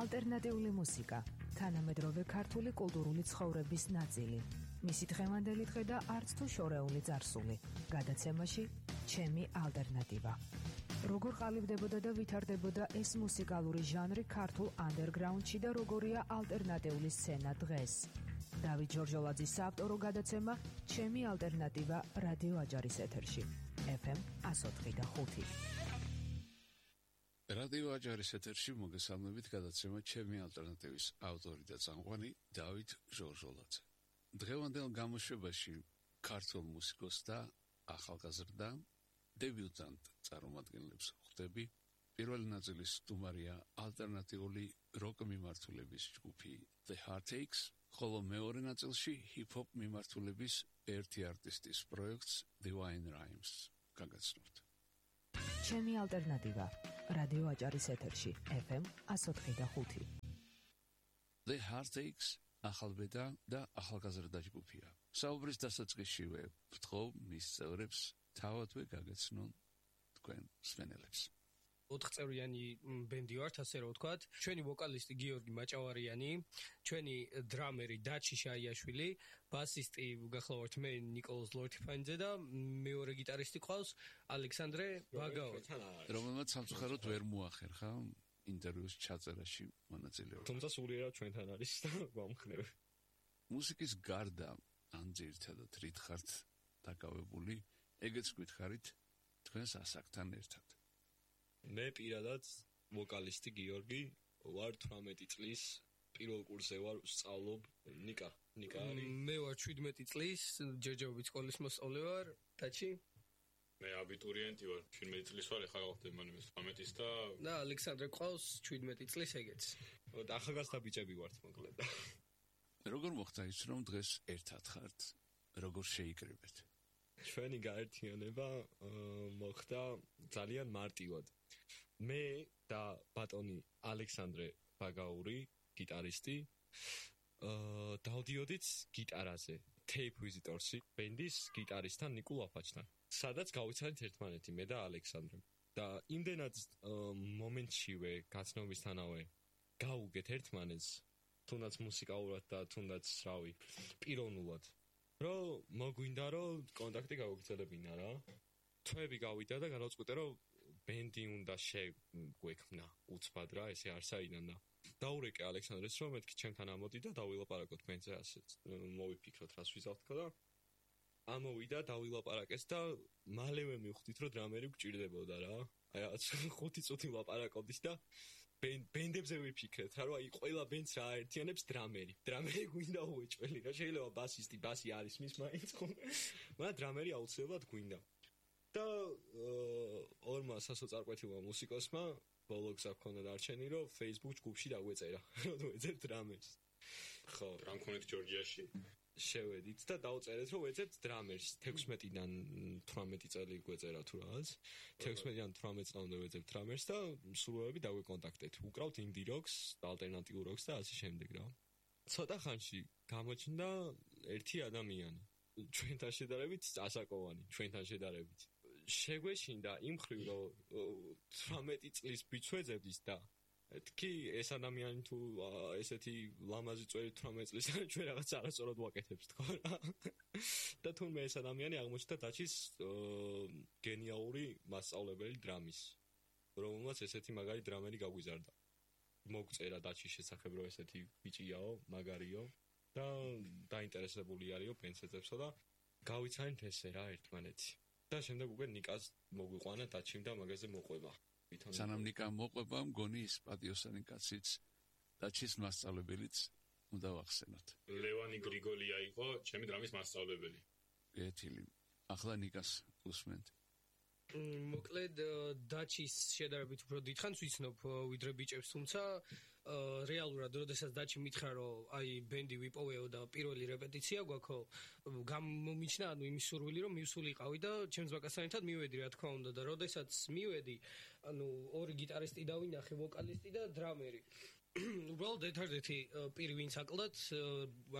ალტერნატიული მუსიკა, თანამედროვე ქართული კულტურული ცხოვრების ნაწილი. მისი დღევანდელი დღე და არც თუ შორეული წარსული. გადაცემაში ჩემი ალტერნატივა. როგორ ყალიბდებოდა და ვითარდებოდა ეს მუსიკალური ჟანრი ქართულ ანდერგრაუნდში და როგორია ალტერნატიული სცენა დღეს. დავით ჯორჯოლაძის საავტორო გადაცემა ჩემი ალტერნატივა რადიო აჯარის ეთერში. FM 104.5. რადიო აჯარის ეთერში მოგესალმებით გადაცემა ჩემი ალტერნატივის ავტორი და წამყვანი დავით ჟორჟოლაძე. დღევანდელ გამოშვებაში ქართულ მუსიკოს და ახალგაზრდა დებიუტანტ წარმომადგენლებს ხვდები. პირველი ნაწილის სტუმარია ალტერნატიული როკ მიმართულების ჯგუფი The Heartaches, ხოლო მეორე ნაწილში ჰიპ-ჰოპ მიმართულების ერთი არტისტის პროექტს Divine Rhymes. გაგაცნობთ. ჩემი ალტერნატივა რადიო აჯარის ეთერში FM 104.5. The Heartaches ახალბედა და ახალგაზრდა ჯგუფია. საუბრის დასაწყისშივე ვთხოვ მის წევრებს თავადვე გაგაცნონ თქვენ მსმენელებს. 4 წევრიანი ბენდი ვართ, ასე რომ ვთქვათ. ჩვენი ვოკალისტი გიორგი მაჭავარიანი, ჩვენი დრამერი დაჩი შაიაშვილი, ბასისტი გახლავართ მე ნიკოლოზ ლორთიფანიძე და მეორე გიტარისტი ყავს ალექსანდრე ბაგაური. რომელმაც სამწუხაროდ ვერ მოახერხა ინტერვიუს ჩაწერაში მონაწილეობა. თუმცა სულიერად ჩვენთან არის და გვამხნევ. მუსიკის გარდა ან ძირითადად რით ხართ დაკავებული, ეგეც გითხარით თქვენს ასაკთან ერთად. მე პირადად ვოკალისტი გიორგი ვარ 18 წლის, პირველ კურსზე ვარ, ვსწავლობ. ნიკა არის. მე ვარ 17 წლის, ჯერჯერობით სკოლის მოსწავლე ვარ. დაჩი? მე აბიტურიენტი ვარ, 17 წლის ვარ, ახლა გავხდები მანამდე 18-ის და ალექსანდრე ყავს 17 წლის ეგეც. ახალგაზრდა ბიჭები ვართ მოკლედ. როგორ მოხდა ის, რომ დღეს ერთად ხართ? როგორ შეიკრიბეთ? ჩვენი გაერთიანება მოხდა ძალიან მარტივად. მე და ბატონი ალექსანდრე ბაგაური, გიტარისტი, დავდიოდით გიტარაზე Tape Visitorsi ბენდის გიტარისტთან ნიკულ აფაჩთან. სადაც გავიცანით ერთმანეთი მე და ალექსანდრე. და იმდენად მომენტშივე გაცნობისთანავე გავუგეთ ერთმანეთს, თუნდაც მუსიკალურად და თუნდაც რავი, პიროვნულად. რომ მოგვინდა რომ კონტაქტი გავაგრძელებინა რა. თვეები გავიდა და განავწყვიტე რომ ბენდი უნდა შეგვექმნა უცბად რა, ესე არსაიდან და დაურეკე ალექსანდრეს რომ მეთქი ჩემთან ამოდი და დავილაპარაკოთ ბენდზე, ასე მოვიფიქროთ რას ვიზავთ თქო და ამოვიდა დავილაპარაკეს და მალევე მივხვდით რომ დრამერი გვჭირდებოდა რა. აი 5 წუთი ვლაპარაკობდით და ბენდებზე ვიფიქრეთ რა, რომ აი ყველა ბენდს რა აერთიანებს დრამერი გვინდა უეჭველი რა, შეიძლება ბასი არის მის მაინც ხო, მაგრამ დრამერი აუცილებლად გვინდა. და ორმა სასოწარკვეთილმა მუსიკოსმა ბოლო გზა ჰქონდა დარჩენი, რომ Facebook ჯგუფში დაგვეწერა, რომ ვეძებ დრამერს. ხო, რა მქონეთ ჯორჯიაში? შევედით და დავწერეთ, რომ ვეძებთ დრამერს. 16-დან 18 წელი გვეწერა თუ რაღაც. 16-დან 18 წლამდე ვეძებთ დრამერს და სრულები დაგვეკონტაქტეთ. უკრავთ ინდი როკს, ალტერნატიულ როკს და ასე შემდეგ რა. ცოტა ხანში გამოჩნდა ერთი ადამიანი. ჩვენთან შედარებით ასაკოვანი, ჩვენთან შედარებით. შეგვეშინდა იმ ხრივ, რომ 18 წლის ბიჭს ვეძებდით და თქი ეს ადამიანი თუ ესეთი ლამაზი წვერი 18 წლის ჩვენ რაღაც არასწორად ვაკეთებს თქო რა. და თუნდაც ეს ადამიანი აღმოჩნდა დაჩის გენიალური მასწავლებელი დრამის, რომელმაც ესეთი მაგარი დრამერი გაგვიზარდა. მოგწერა დაჩის შესახებ, რომ ესეთი ბიჭიაო, მაგარიო და დაინტერესებული არისო პენსეძებსო და გავიცანით ესე რა ერთმანეთი. და შემდეგ უკვე ნიკას მოგვიყვანა დაჩიმ და მაგაზე მოყვება. სანამ ნიკა მოყვება, მგონი ის პატიოსანი კაციც დაჩის მასწავლებელიც უნდა ვახსენოთ. ლევანი გრიგოლია იყო ჩემი დრამის მასწავლებელი. გეთილი. ახლა ნიკას უსმენთ. მოკლედ დაჩის შედარებით უფრო დიდხანს ვიცნობ ვიდრე ბიჭებს, თუმცა რეალურად როდესაც დაჩი მითხრა რომ აი ბენდი ვიპოვეო და პირველი რეპეტიცია გვაქვს, გამომიჩნა ანუ იმის სურვილი რომ მივსულიყავი და ჩემს ბაკასთან ერთად მივედი რა თქმა უნდა და როდესაც მივედი, ანუ ორი გიტარისტი დავინახე, ვოკალისტი და დრამერი. უბრალოდ ერთადერთი პირი ვინც აკლდათ,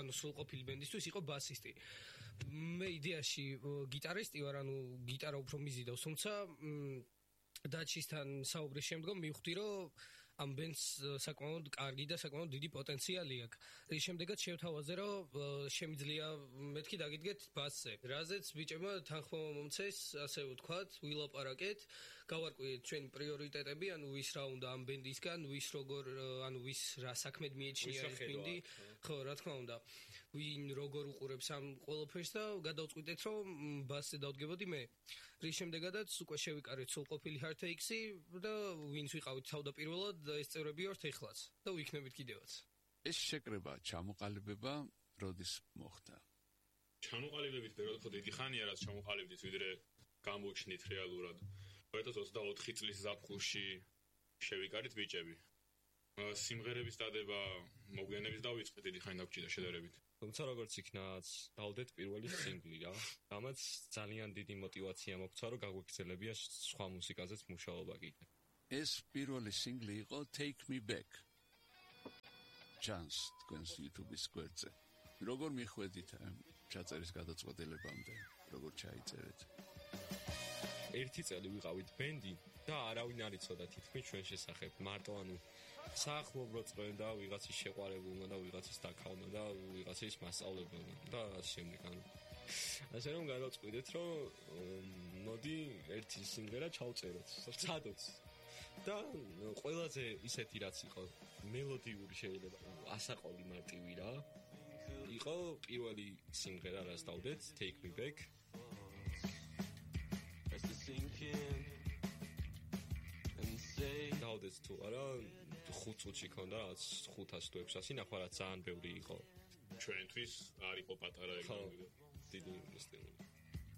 ანუ სრულყოფილი ბენდისთვის იყო ბასისტი. მე იდეაში გიტარისტი ვარ, ანუ გიტარა უფრო მიზიდავს, თუმცა დაჩისთან საუბრის შემდგომ მივხვდი, რომ ამ ბენდს საკმაოდ კარგი და საკმაოდ დიდი პოტენციალი აქვს. რის შემდეგაც შევთავაზე, რომ შემიძლია მეთქი დაგიდგეთ ბასზე. რაზეც ბიჭებმა თანხმობა მომცეს, ასე ვთქვათ, ვილაპარაკეთ, გავარკვიეთ ჩვენი პრიორიტეტები, ანუ ვის რა უნდა ამ ბენდისგან, ვის როგორ, ანუ ვის რა საქმედ მიეჩნია ეს ბენდი. ხო, რა თქმა უნდა. ვინ როგორ უყურებს ამ ყველაფერს და გადავწყვიტეთ, რომ ბასზე დავდგებოდი მე. რის შემდეგაც უკვე შევიკარეთ სულყოფილი Hard-Takes-ი და ვინც ვიყავით თავდაპირველად ეს წევრები ვართ ეხლაც და ვიქნებით კიდევაც. ეს შეკრება, ჩამოყალიბება როდის მოხდა? ჩამოყალიბებით პერიოდი ხო დიდი ხანია, რაც ჩამოყალიბდით, ვიდრე გამოჩნდით რეალურად. 2024 წლის ზაფხულში შევიკარით ბიჭები. სიმღერების დადება, მოგვიანებით დავიწყეთ, დიდი ხანი დაგჭირდა შედარებით. თუმცა როგორც იქნაც, დავდეთ პირველი სინგლი რა. რამაც ძალიან დიდი мотиваცია მოგცა, რომ გაგვეგრძელებია სხვა მუსიკაზეც მუშაობა კიდე. ეს პირველი სინგლი იყო Take Me Back. ჩანს თქვენს YouTube-ის გვერდზე. როგორ მიხვედით ჩაწერის გადაწყვეტილებამდე, როგორ ჩაიწერეთ? ერთი წელი ვიყავით ბენდი და არავინ არ იცოდა თითქმის ჩვენ შესახებ. მარტო ანუ საახლობლო წვენდა ვიღაცის შეყვარებულმა და ვიღაცის დაკავმა და ვიღაცის მასწავლებელმა და ასე შემდეგ. ასე რომ გადავწყვიტეთ, რომ მოდი ერთი სიმღერა ჩავწეროთ, ვცადოთ. და ყველაზე ისეთი რაც იყო მელოდიური შეიძლება ასაყოლი მარტივი რა. იყო პირველი სიმღერა რაც დავდეთ, Take Me Back. დავდეთ თუ არა 5 წუთში ქონდა რაც 500 თუ 600 ნახვა რაც ძალიან ბევრი იყო ჩვენთვის არ იყო პატარა ეგრე. დიდი სტილი.